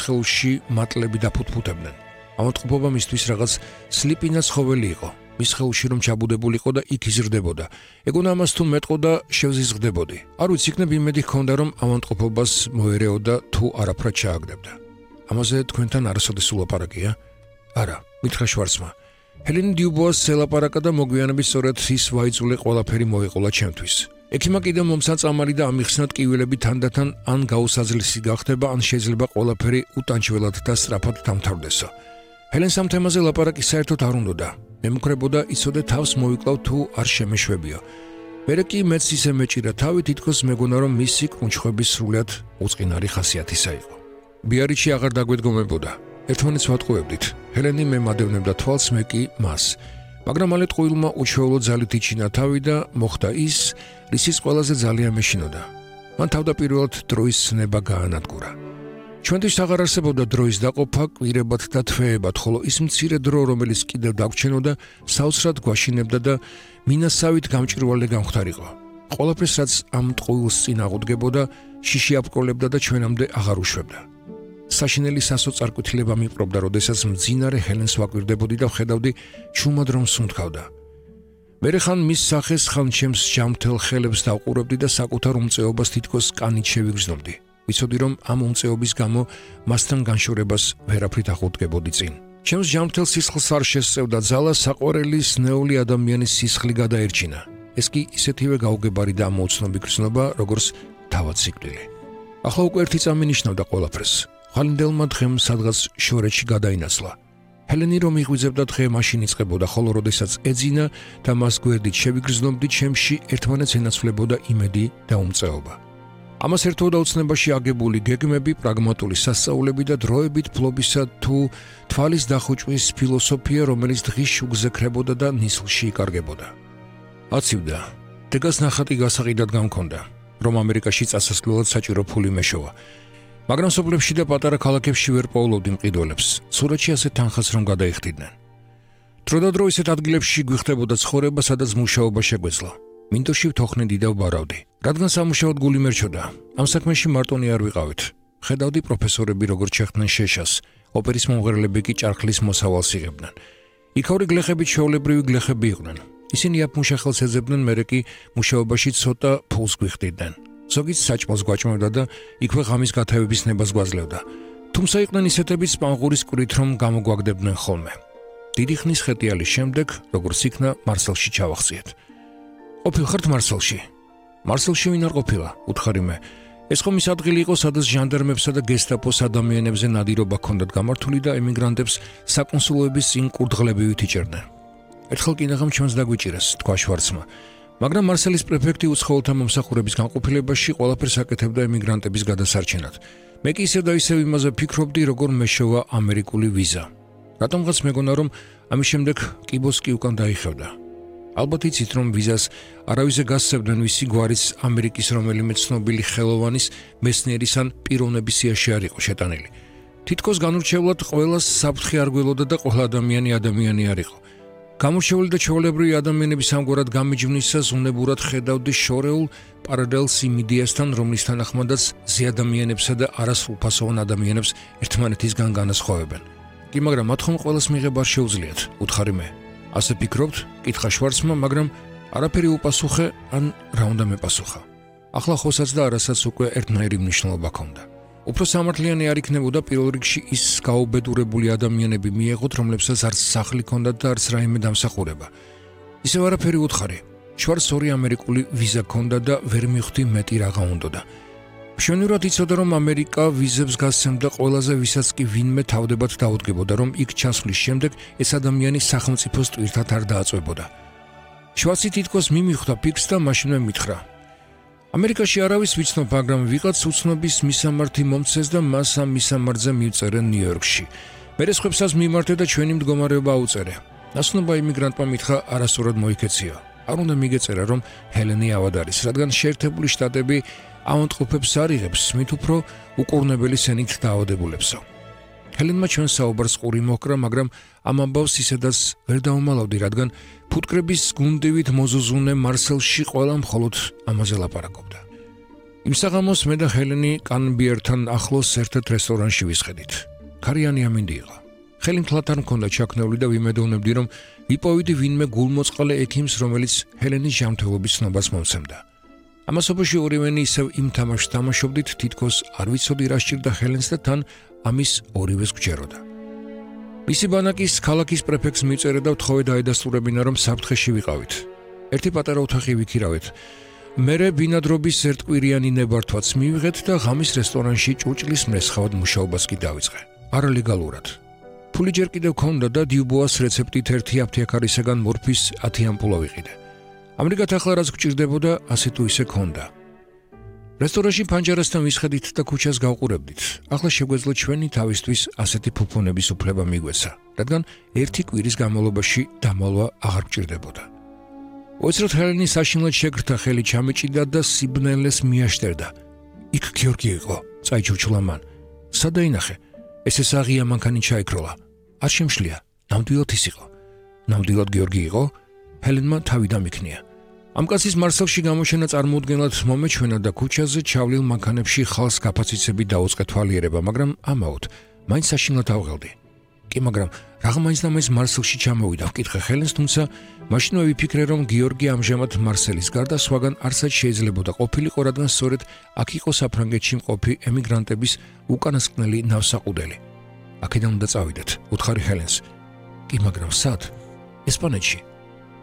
სხეულში მატლები დაფუთფუთებდნენ. ავადმყოფობა მისთვის რაღაც სლიპინა ცხოველი იყო. მის სხეულში რომ ჩაბუდებულიყო და იქ იზრდებოდა. ეგონა ამას თუ მეტყო და შევზიზღდებოდი. არ ვიცი, იქნებ იმედი ჰქონდა, რომ ავადმყოფობას მოერეოდა თუ არაფრად ჩააგდებდა. ამაზე თქვენთან არასოდეს ულაპარაკია? არა, მითხრა შვარცმა. ჰელენი დიუბოას ელაპარაკა და მოგვიანებით სწორედ ის ვაიძულე ყველაფერი მოეყოლა ჩემთვის. ექიმა კიდევ მომსაწამალი და ამიხსნათ კივილები თანდათან ან გაუსაძლისი გახდება, ან შეიძლება ყველაფერი უტანჩველად და სწრაფად დამთავრდესო. ჰელენს ამ თემაზე ლაპარაკი საერთოდ არ უნდოდა. მემუქრებოდა იცოდე თავს მოვიკლავ თუ არ შემეშვებიო. მერე კი მეც ისე მეჭირა თავი, თითქოს მეგონა რომ მისი კრუნჩხვების სრულიად უწყინარი ხასიათისა იყო. ბიარიჩი აღარ დაგვედგომებოდა. ერთმანეთს ვატყუებდით. ჰელენი მე მადევნებდა თვალს, მე კი მას. მაგრამ მალე ტყუილმა უჩვეულო ძალით იჩინა თავი და მოხდა ის, რისიც ყველაზე ძალიან მეშინოდა. მან თავდაპირველად დროის ცნება გაანადგურა. ჩვენთვის აღარ არსებობდა დროის დაყოფა, კვირებად და თვეებად, ხოლო ის მცირე დრო, რომელიც კიდევ დაგვრჩენოდა, საოცრად გვაშინებდა და მინასავით გამჭვირვალე გამختარიყო. ყველაფერს, რაც ამ ტყუილს წინ აღუდგებოდა, შიში აპკოლებდა და ჩვენამდე აღარ უშვებდა. საშინელი სასოწარკვეთილება მიპყრობდა, როდესაც მძინარე ჰელენს ვაკვირდებოდი და ვხედავდი ჩუმად რომ სუნთქავდა. მერე ხან მის სახეს, ხან ჩემს ჯამთელ ხელებს დავყურებდი და საკუთარ უმწეობას თითქოს კანით შევიგრძნობდი. ვიცოდი რომ ამ უმწეობის გამო მასთან განშორებას ვერაფრით აღუდგებოდი წინ. ჩემს ჯამთელ სისხლს არ შესწევდა ძალა, საყვარელი სნეული ადამიანის სისხლი გადაერჩინა. ეს კი ისეთივე გაუგებარი და ამოუცნობი გრძნობა, როგორც თავად სიკვდილი. ახლა უკვე ერთი წამი ნიშნავდა ყველაფერს. ხალინდელმა დღემ სადღაც შორეთში გადაინაცვლა. ჰელენი რომ იღვიძებდა დღე მაშინ იწყებოდა, ხოლო როდესაც ეძინა და მას გვერდით შევიგრძნობდი, ჩემში ერთმანეთს ენაცვლებოდა იმედი და უმწეობა. ამას ერთვოდა უცნებაში აგებული გეგმები, პრაგმატული სასწაულები და დროებით ფლობისა თუ თვალის დახუჭვის ფილოსოფია, რომელიც დღის შუგზე ქრებოდა და ნისლში იკარგებოდა. აცივდა. დეგას ნახატი გასაყიდად გამქონდა, რომ ამერიკაში წასასვლელად საჭირო ფული მეშოვა. მაგრამ სოფლებში და პატარა ქალაქებში ვერ პოულობდი მყიდველებს. სურათში ასეთ თანხას რომ გადაიხდიდნენ. დროდადრო ისეთ ადგილებში გვიხდებოდა ცხოვრება, სადაც მუშაობა შეგვეძლო. მინდორში ვთოხნე დიდავ ბარავდი. რადგან სამუშაოდ გული მერჩოდა, ამ საქმეში მარტონი არ ვიყავით. ხედავდი პროფესორები როგორ ჩეხდნენ შეშას, ოპერის მომღერლები კი ჭარხლის მოსავალს იღებდნენ. იქაური გლეხები ჩვეულებრივი გლეხები იყვნენ. ისინი აფმუშახელს ეძებდნენ, მერე კი მუშაობაში ცოტა ფულს გვიხდიდნენ. ზოგიც საჭმელს გვაჭმევდა და იქვე ღამის გათევების ნებას გვაძლევდა. თუმცა იყვნენ ისეთებიც სპანღურის კვირით რომ გამოგვაგდებდნენ ხოლმე. დიდი ხნის ხეტიალის შემდეგ, როგორც იქნა, მარსელში ჩავახციეთ. ყოფილ ხართ მარსელში? მარსელში ვინ არ ყოფილა? უთხარი მე. ეს ხომ ის ადგილი იყო, სადაც ჟანდარმებსა და გესტაპოს ადამიანებზე ნადირობა ჰქონდათ გამართული და ემიგრანტებს საკონსულოების წინ კურდღლებივით იჭერდნენ. ერთხელ კინაღამ ჩვენს დაგვიჭირეს, თქვა შვარცმა. მაგრამ მარსელის პრეფექტი უცხოელთა მომსახურების განყოფილებაში ყველაფერს აკეთებდა ემიგრანტების გადასარჩენად. მე კი ისევ და ისევ იმაზე ფიქრობდი, როგორ მეშოვა ამერიკული ვიზა. რატომღაც მეგონა, რომ ამის შემდეგ კიბოსკი უკან დაიხევდა. ალბათ იცით, რომ ვიზას არავისზე გასცემდნენ, ვისი გვარის ამერიკის რომელიმე ცნობილი ხელოვანის, მეცნიერის ან პიროვნების სიაში არ იყო შეტანილი. თითქოს განურჩევლად ყველას საფრთხე არ გველოდა და ყველა ადამიანი არ იყო. გამორჩეული და ჩვეულებრივი ადამიანების ამგვარად გამიჯვნისას უნებურად ხედავდი შორეულ პარალელს იმ იდეასთან, რომლის თანახმადაც ზეადამიანებსა და არასრულფასოვან ადამიანებს ერთმანეთისგან განასხვავებენ. კი, მაგრამ მათ ხომ ყველას მიღება არ შეუძლიათ, უთხარი მე. ასე ფიქრობთ? კითხა შვარცმა, მაგრამ არაფერი უპასუხე, ან რა უნდა მეპასუხა. ახლა ხოსაც და არასაც უკვე ერთნაირი მნიშვნელობა ჰქონდა. უფრო სამართლიანი არ იქნებოდა პირველ რიგში ის გაუბედურებული ადამიანები მიეღოთ, რომლებსაც არც სახლი ჰქონდათ და არც რაიმე დამსახურება. ისევ არაფერი უთხარი. შვარცს ორი ამერიკული ვიზა ჰქონდა და ვერ მივხვდი მეტი რაღა უნდოდა. მშვენივრად იცოდა, რომ ამერიკა ვიზებს გასცემდა ყველაზე, ვისაც კი ვინმე თავდებად დაუდგებოდა, რომ იქ ჩასვლის შემდეგ ეს ადამიანი სახელმწიფოს ტვირთად არ დააწვებოდა. შვარცი თითქოს მიმიხვდა ფიქრს და მაშინვე მითხრა: ამერიკაში არავის ვიცნობ, მაგრამ ვიღაც უცნობის მისამართი მომცეს და მას ამ მისამართზე მივწერენ ნიუ-იორკში. მერე სხვებსაც მიმართე და ჩვენი მდგომარეობა აუწერე. ნაცნობა იმიგრანტმა მითხრა, არასწორად მოიქეციო. არ უნდა მიგეწერა, რომ ჰელენი ავად არის, რადგან შეერთებული შტატები ავადმყოფებს არ იღებს, მით უფრო უკურნებელი სენით დაავადებულებსო. ჰელენმა ჩვენ საუბარს ყური მოჰკრა, მაგრამ ამ ამბავს ისედაც ვერ დაუმალავდი, რადგან ფუტკრების გუნდივით მოზუზუნე მარსელში ყველა მხოლოდ ამაზე ლაპარაკობდა. იმ საღამოს მე და ჰელენი კანბიერთან ახლოს ერთ-ერთ რესტორანში ვისხედით. ქარიანი ამინდი იყო. ხელი მთლად არ მქონდა ჩაქნეული და ვიმედოვნებდი, რომ ვიპოვიდი ვინმე გულმოწყალე ექიმს, რომელიც ჰელენის ჟამთველობის ცნობას მომცემდა. ამასობაში ორივენი ისევ იმ თამაშს თამაშობდით, თითქოს არ ვიცოდი რა სჭირდა ჰელენს და თან ამის ორივეს გვჯეროდა. მისი ბანაკის ქალაქის პრეფექტს მიწერე და ვთხოვე დაედასტურებინა, რომ საფრთხეში ვიყავით. ერთი პატარა ოთახი ვიქირავეთ. მერე ბინადრობის ერთკვირიანი ნებართვაც მივიღეთ და ღამის რესტორანში ჭურჭლის მრესხავად მუშაობას კი დავიწყე. არალეგალურად. ფული ჯერ კიდევ ქონდა და დიუბოას რეცეპტით 1 აფთიაქარისაგან მორფის 10 ამპულა ვიყიდე. ამრიგად ახლა რაც გვჭირდებოდა, ასე თუ ისე ქონდა. რესტორანში ფანჯარასთან ვისხედით და ქუჩას გავყურებდით. ახლა შეგვეძლო ჩვენი თავისთვის ასეთი ფუფუნების უფლება მიგვეცა, რადგან 1 კვირის განმავლობაში დამალვა აღარ გვჭირდებოდა. უცრად ჰელენის საშინლად შეგრთა ხელი ჩამეჭიდა და სიბნელეს მიაშტერდა. იქ გიორგი იყო, წაიჩურჩულა მან. სადაინახე? ესე საღია მანქანი ჩაიქროლა. არ შემშლია, ნამდვილად ის იყო. ნამდვილად გიორგი იყო? ჰელენმა თავი დამიქნია. ამ კაცის მარსელში გამოჩენა წარმოუდგენლად მომეჩვენა და ქუჩაზე ჩავლილ მანქანებში ხალს გაფაციცები დაუწყე თვალიერება, მაგრამ ამაოდ მაინც საშინლად ავღელდი. კი, მაგრამ რაღა მაინც და მაინც მარსელში ჩამოვიდა, ვკითხე ჰელენს, თუმცა მაშინვე ვიფიქრე, რომ გიორგი ამჟამად მარსელის გარდა სხვაგან არსად შეიძლებოდა ყოფილიყო, რადგან სწორედ აქ იყო საფრანგეთში მყოფი ემიგრანტების უკანასკნელი ნავსაყუდელი. აქედან უნდა წავიდეთ, უთხარი ჰელენს. კი, მაგრამ სად? ესპანეთში.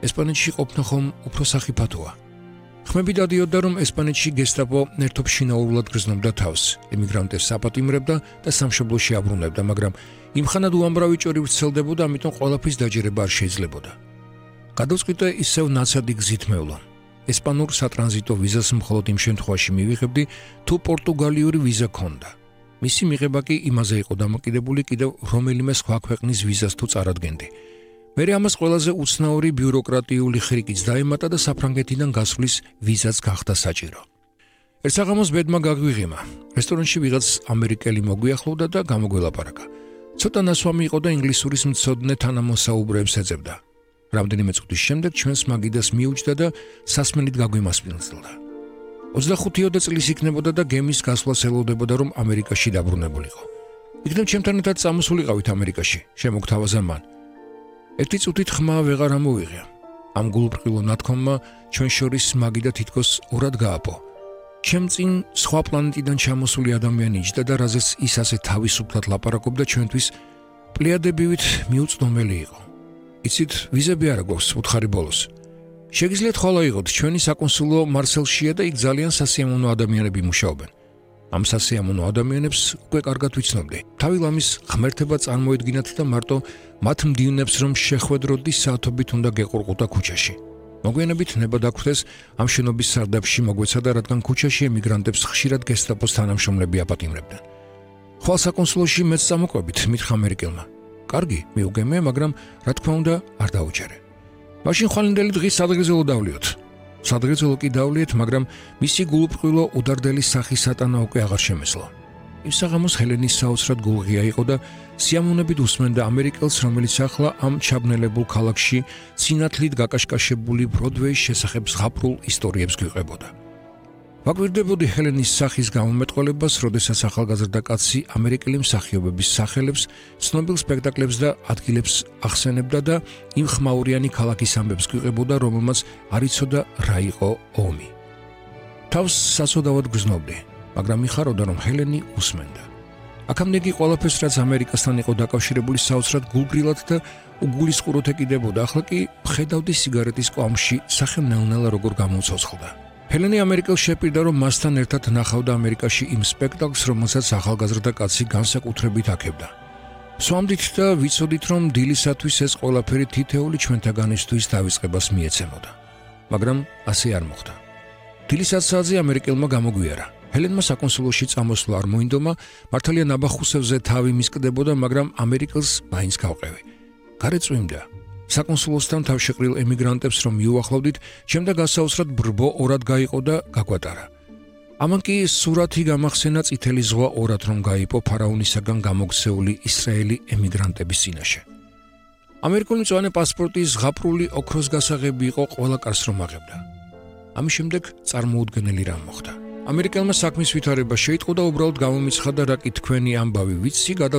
ესპანეთში ყოფნა ხომ უფრო სახიფათოა. ხმები დადიოდა, რომ ესპანეთში გესტაპო ერთობ შინაურულად გრძნობდა თავს, ემიგრანტებს აპატიმრებდა და სამშობლოში აბრუნებდა, მაგრამ იმხანად უამრავი ჭორი ვრცელდებოდა, ამიტომ ყველაფრის დაჯერება არ შეიძლებოდა. გადავწყვიტე ისევ ნაცადი გზით მევლა. ესპანურ სატრანზიტო ვიზას მხოლოდ იმ შემთხვევაში მივიღებდი, თუ პორტუგალიური ვიზა ქონდა. მისი მიღება კი იმაზე იყო დამოკიდებული კიდევ რომელიმე სხვა ქვეყნის ვიზას თუ წარადგენდი. მერე ამას ყველაზე უცნაური ბიუროკრატიული ხრიკიც დაემატა და საფრანგეთიდან გასვლის ვიზაც გახდა საჭირო. ერთ საღამოს ბედმა გაგვიღიმა. რესტორანში ვიღაც ამერიკელი მოგვიახლოვდა და გამოგველაპარაკა. ცოტა ნასვამი იყო და ინგლისურის მცოდნე თანამოსაუბრეებს ეძებდა. რამდენიმე წუთის შემდეგ ჩვენს მაგიდას მიუჯდა და სასმელით გაგვიმასპინძლდა. 25 წლის იქნებოდა და გემის გასვლას ელოდებოდა, რომ ამერიკაში დაბრუნებულიყო. იქნებ ჩემთან ერთად წამოსულიყავით ამერიკაში, შემოგთავაზა მან. ერთი წუთით ხმა ვეღარ ამოვიღია. ამ გულბრყილო ნათქვამმა ჩვენ შორის მაგიდა თითქოს ორად გააპო. ჩემ წინ სხვა პლანეტიდან ჩამოსული ადამიანი იჯდა და რაზეც ის ასე თავისუფლად ლაპარაკობდა, ჩვენთვის პლიადებივით მიუწვდომელი იყო. იცით, ვიზები არა გვაქვს უთხარი ბოლოს. შეგიძლიათ ხოლო იყოთ, ჩვენი საკონსულო მარსელშია და იქ ძალიან სასიამოვნო ადამიანები მუშაობენ. ამ სასიამოვნო ადამიანებს უკვე კარგად ვიცნობდი. თავი ლამის ღმერთება წარმოედგინათ და მარტო მათ მდივნებს რომ შეხვედროდი საათობით უნდა გეყურყუდა ქუჩაში. მოგვიანებით ნება დაგხვდეს ამ შენობის სარდაფში მოგვეცადა, რადგან ქუჩაში ემიგრანტებს ხშირად გესტაპოს თანამშრომლები აპატიმრებდნენ. ხვალ საკონსულოში მეც წამოყვებით, მითხრა ამერიკელმა. კარგი, მიუგემე, მაგრამ რა თქმა უნდა არ დაუჯერე. მაშინ ხვალინდელი დღის სადღეგრძელო დავლიოთ. სადღეგრძელო კი დავლიეთ, მაგრამ მისი გულუბრყვილო უდარდელი სახის სატანა უკვე აღარ შემეძლო. იმ საღამოს ჰელენის საოცრად გულღია იყო და სიამოვნებით უსმენდა ამერიკელს, რომელიც ახლა ამ ჩაბნელებულ ქალაქში სინათლით გაკაშკაშებული ბროდვეის შესახებ ზღაპრულ ისტორიებს გვიყვებოდა. ვაკვირდებოდი ჰელენის სახის გამომეტყველებას, როდესაც ახალგაზრდა კაცი ამერიკელი მსახიობების სახელებს, ცნობილ სპექტაკლებს და ადგილებს ახსენებდა და იმ ხმაურიანი ქალაქის ამბებს გვიყვებოდა, რომელმაც არ იცოდა რა იყო ომი. თავს საცოდავად გრძნობდი, მაგრამ მიხარობდა, რომ ჰელენი უსმენდა. აქამდე კი ყველაფერს, რაც ამერიკასთან იყო დაკავშირებული, საოცრად გულგრილად და უგულისყუროთ ეკიდებოდა, ახლა კი ხედავდი სიგარეტის კვამში სახელნელ-ნელა როგორ გამოცოცხლდა. ჰელენი ამერიკელს შეპირდა, რომ მასთან ერთად ნახავდა ამერიკაში იმ სპექტაკლს, რომელსაც ახალგაზრდა კაცი განსაკუთრებით აქებდა. სვამდით და ვიცოდით, რომ დილისათვის ეს ყველაფერი თითეული ჩვენთაგანისთვის დავიწყებას მიეცემოდა. მაგრამ ასე არ მოხდა. დილის 10-საათზე ამერიკელმა გამოგვიარა. ჰელენმა საკონსულოში წამოსვლა არ მოინდომა, მართალია ნაბახუსევზე თავი მისკდებოდა, მაგრამ ამერიკელს მაინც გავყევი. გარე წვიმდა. საკონსულოსთან თავშეყრილ ემიგრანტებს რომ მიუახლოვდით, ჩემდა გასაოცრად ბრბო ორად გაიყო და გაგვატარა. ამან კი სურათი გამახსენა წითელი ზღვა ორად რომ გაიპო ფარაონისაგან გამოგცეული ისრაელი ემიგრანტების წინაშე. ამერიკული მწვანე პასპორტის ზღაპრული ოქროს გასაღები იყო ყველა კარს რომ აღებდა. ამის შემდეგ წარმოუდგენელი რამ მოხდა. ამერიკელმა საქმის ვითარება შეიტყო და უბრალოდ გამომიცხადა, რა კი თქვენი ამბავი ვიცი, გადაწყვიტა